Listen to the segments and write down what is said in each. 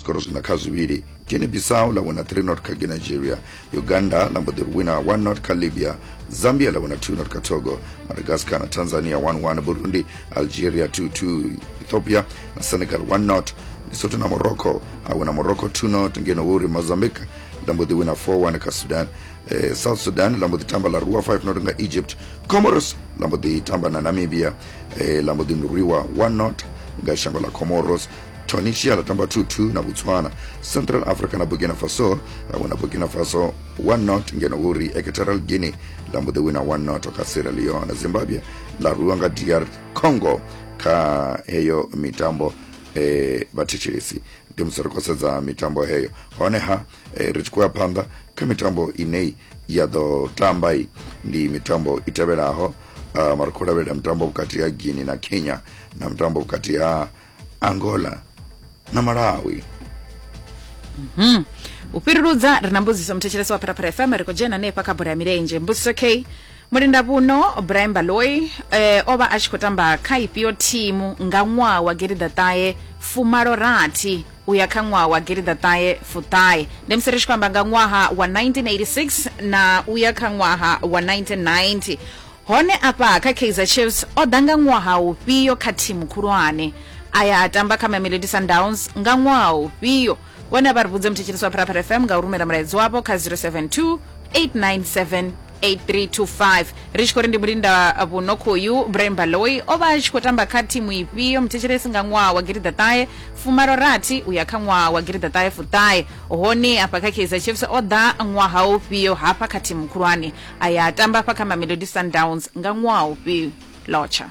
zwikoro zwiṋa kha zwivhili. Guinea Bissau ḽa wina 3 not kha Nigeria. Uganda ḽa mbo ḓi wina 1 not kha Libya. Zambia ḽa wina 2 not kha Togo. Madagascar na Tanzania 1-1. Burundi, Algeria 2-2. Ethiopia na Senegal 1 not. Lesotho na Morocco a wina Morocco 2 not, ngeno hu uri Mozambique ḽa mbo ḓi wina 4-1 kha Sudan. South Sudan ḽa mbo ḓi tamba ḽa rwiwa 5 not nga Egypt. Comoros ḽa mbo ḓi tamba na Namibia, ḽa mbo ḓi rwiwa 1 not nga shango ḽa Comoros. Tunisia ḽa tamba 2-2 na Botswana. Central Africa na Burkina Faso ḽa wina Burkina Faso 1 not, ngeno hu uri Equatorial Guinea ḽa mbo ḓi wina 1 not kha Sierra Leone. Zimbabwe ḽa rwiwa nga DR Congo kha heyo mitambo. Vhathetshelesi, ndi musi ri khou sedza mitambo heyo. Honeha ri tshi khou ya phanḓa kha mitambo ine ya ḓo tamba, ndi mitambo i tevhelaho. Mara khou lavhelela mutambo vhukati ha Guinea na Kenya na mutambo vhukati ha Angola na Malawi. U fhiruludza ri na mbudziso muthetshelesi wa Phalaphala FM, ri khou dzhena hanefha kha bola ya milenzhe. Mbudziso k mulinda vhuno Brian Baloyi o vha a tshi khou tamba kha ifhio thimu nga ṅwaha wa gidiḓaṱahe fumalo rathi u ya kha ṅwaha wa gidiḓaṱahe fuṱahe? Ndi musi ri tshi khou amba nga ṅwaha wa 1986 na u ya kha ṅwaha wa 1990. Hone afha kha Kaizer Chiefs o ḓa nga ṅwaha ufhio kha thimu khulwane, a ya a tamba kha Mamelodi Sundowns nga ṅwaha ufhio? Vhone a vha ri vhudze muthetshelesi wa Phalaphala FM nga u rumela mulaedza wavho kha 072 897 8325. Ri tshi khou ri ndi mulinda vhuno khoyu Brian Baloyi o vha a tshi khou tamba kha thimu ifhio muthetshelesi nga ṅwaha wa gidiḓaṱahe fumalo rathi u ya kha ṅwaha wa gidiḓaṱahe fuṱahe? Hone afha kha Kaizer Chiefs o ḓa ṅwaha ufhio hafha kha thimu khulwane, a ya a tamba hafha kha Mamelodi Sundowns nga ṅwaha ufhio? Lotsha.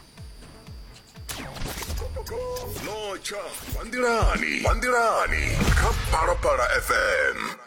Lotsha vha nḓilani, vha nḓilani kha Phalaphala FM.